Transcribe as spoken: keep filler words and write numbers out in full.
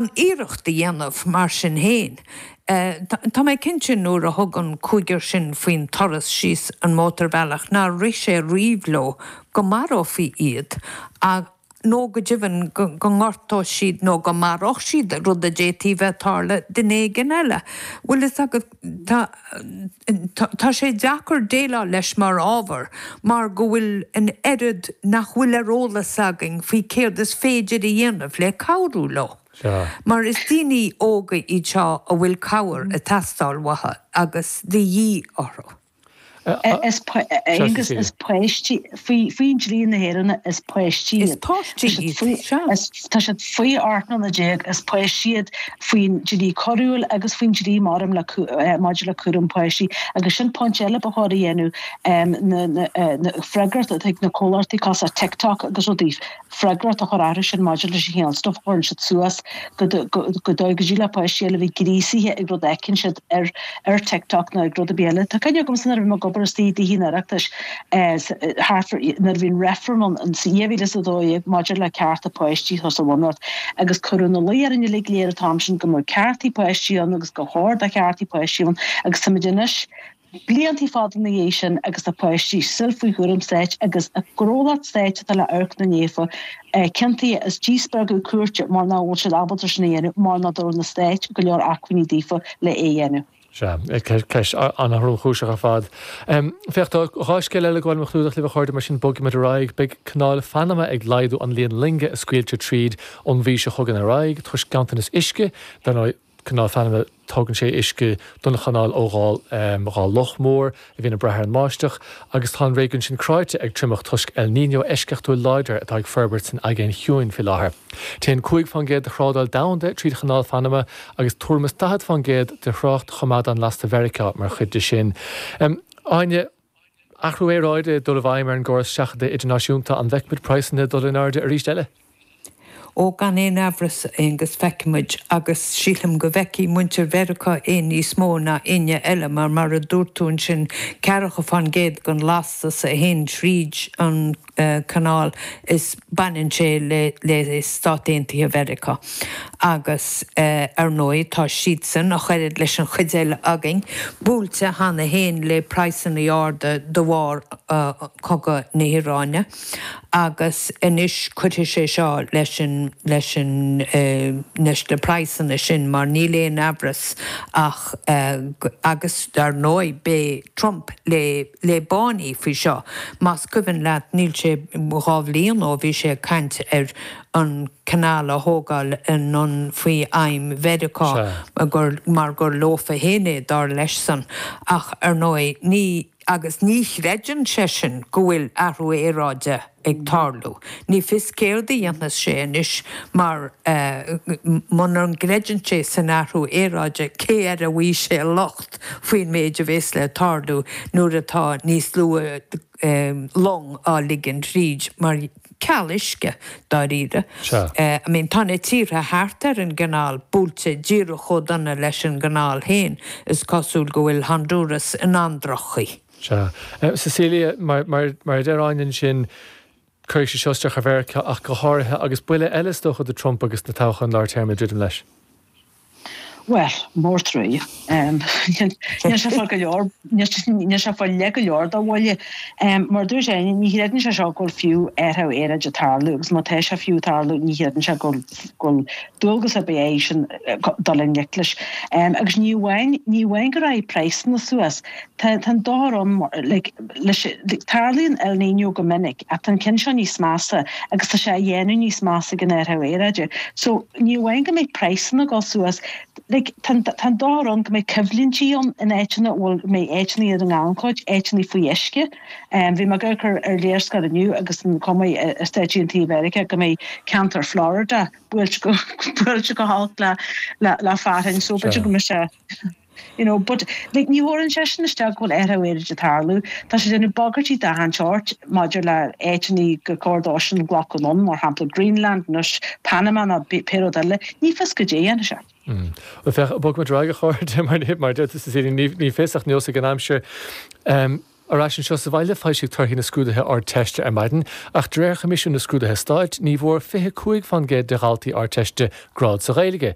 Iarracht a dhéanamh mar sin féin. Tá mé cinnte nuair a thug an cúigear sin faoin turas síos an mótarbhealach nár rith sé riamh leo go marófaí iad nó go deimhin go ngortódh siad nó go maródh siad, rud a d'fhéadfaí bheith ag tarlú duine éigin eile. Bhfuil fhios agat, tá tá sé deacair déileáil leis mar ábhar mar go bhfuil an oiread nach bhfuil ar eolas againn faoi céard is féidir a dhéanamh le cabhrú leo. Mar is daoine óga iad seo a bhfuil cabhair ag teastáil uathu agus de dhíth orthu. Is Aonghus, is páistí, faoi dhlí na hÉireann is páistí iad. Is páistí iad, sea. Tá siad faoi ocht mbliana déag, is páistí iad faoin dlí coiriúil agus faoin dlí maidir le maidir le cúram páistí. Agus sin pointe eile ba chóir a dhéanamh, na freagracht atá ag na comhlachtaí cosúil le TikTok agus rudaí. freagracht a chur orthu sin maidir leis an chineál stuif a chuireann siad suas go dóigh go dtig le páistí eile a bheith gríosaithe ag rud a fheiceann siad ar ar TikTok nó ag rud ar bith eile. Tá cuimhne agamsa nuair a bhí mé ag obair istigh i dTithe an Oireachtais thart fá nuair a bhí an reifreann ann in dhá mhíle is a dó dhéag maidir le cearta páistí sa Bhunreacht agus cuireadh ina luí orainn uilig go léir an t-am sin go mbeadh ceartaí páistí ann agus gur chóir do cheartaí páistí ann agus táimid anois Blianta fada ina dhiaidh sin agus tá páistí still faoi chúram stáit agus an gnólacht stáit atá le amharc ina ndiaidh ciontaithe as díspeagadh cúirte mar nach bhfuil siad ábalta sin a dhéanamh mar nach dtabharann an stáit go leor acmhainní daofa le é a dhéanamh. Sea, ceist an-thromchúiseach ar fad. Féach, tá dhá scéal eile ag gabháil liom a chlúdach libh a chairde, mar sin bogfaimid ar aghaidh. Beidh Canáil Phanama ag laghdú an líon loinge a scaoiltear tríd ón mhí seo chugainn ar aghaidh toisc ganntanas uisce. Dar ndóigh, Canáil Phanama, tugann sé uisce don chanáil ó dhá loch mór a bhíonn ag brath ar an mbáisteach, agus tá an réigiún sin cráite ag triomach toisc El Niño eisceachtúil láidir atá ag forbairt san Aigéan Chiúin faoi láthair. Téann cúig fán gcéad de thrádáil domhanda tríd Chanáil Phanama agus tuairim is daichead fán gcéad de thrácht choimeádán lasta Mheiriceá mar chuid de sin. Áine, athrú aeráide ag dul i bhfeidhm ar an gcóras seachadta idirnáisiúnta, an bhfeicfimid praghsanna ag dul in airde arís eile? Ó, gan aon amhras, a Aonghus, feicfimid, agus sílim go bhfeicfidh muintir Mheiriceá é níos mó ná éinne eile, mar, mar a dúirt tú ansin, ceathracha fán gcéad den lastas a théann tríd an chanáil, is baineann sé le, le Stáit Aontaithe Mheiriceá. Agus, ar ndóigh, tá siadsan, ach oiread leis an chuid eile againn, buailte cheana féin le praghsanna arda de bharr cogadh na hIaráine. Agus anois cuirfidh sé seo leis an, leis an, leis na praghsanna sin mar níl aon amhras ach, agus dar ndóigh beidh Trump le, le báiní faoi seo. Más cuimhin leat níl sé dhá bhliain ó bhí sé ag caint ar an canal a thógáil anonn faoi aidhm Mheiriceá gur, mar gur leofa féin é dar leis-san. Ach ar ndóigh ní. Agus ní chreideann seisean go bhfuil athrú aeráide ag tarlú. Ní fios céard a dhéanfas sé anois mar muna gcreideann sé san athrú aeráide cé air a bhfaighidh sé locht faoin méid a bhéas le tarlú nuair atá níos lú long á ligean tríd mar ceal uisce, dáiríre. I mean, tá na tíortha thart ar an gcanáil buailte díreach chomh dona leis an gcanáil féin. Is cosúil go bhfuil Honduras in an-droch-chaoi. Sea. Cecilia, mar, mar, mar a deir Áine ansin, cuirfidh sé seo isteach ar Mheiriceá ach go háirithe, agus buille eile is dócha do Trump agus na toghcháin lár téarma ag druidim leis. Bhuel, mór truaighe. Níl sé fáil go leor, níl sé fáil le go leor dá bhuille. Mar a dúirt Áine, ní chreideann sé seo go bhfuil fiú athrú aeráide ag tarlú agus má tá sé fiú ag tarlú ní chreideann sé go bhfuil dualgas ar bith eisean dul i ngleic leis. Agus ní amháin, ní amháin go raghaidh praghsanna suas, tá an dochar ann like leis, tarlaíonn El Niño go minic ach tá an ceann seo níos measa agus tá sé á dhéanamh níos measa ag an athrú aeráide. So ní amháin go mbeidh praghsanna ag dul suas, like tá an tá an dochar ann go mbeidh coimhlintí ann in áiteanna a bhfuil mbeidh áiteanna ar an ngannchuid, áiteanna faoi uisce. Bhí mé ag amharc ar ar léarscáil inniu agus an chuma i Stáit Aontaithe Mheiriceá go mbeidh ceantar Florida buailte go buailte go holc le le le fearthainn so b'fhéidir go mbeidh sé You know, but like ní thabharann sé sin isteach go bhfuil athrú aeráide ag tarlú. Tá sé ag déanamh bagairtí d'achan tsórt maidir le áiteanna gur chóir dósan glacadh anonn, mar shampla Greenland, anois Panama nó pé rud eile. Ní fios goidé a dhéanfaidh sé. Bhuel féach, bogfaimid ar aghaidh a chairde, mar mar a deir tú Cecilia, ní ní fios ach neosfaidh an aimsir. Ar ais anseo sa bhaile foilsíodh torthaí na scrúduithe Ardteiste ar maidin, ach de réir Choimisiún na Scrúduithe Stáit ní bhfuair fiche cúig faoin gcéad de dhaltaí Ardteiste grád sa Ghaeilge.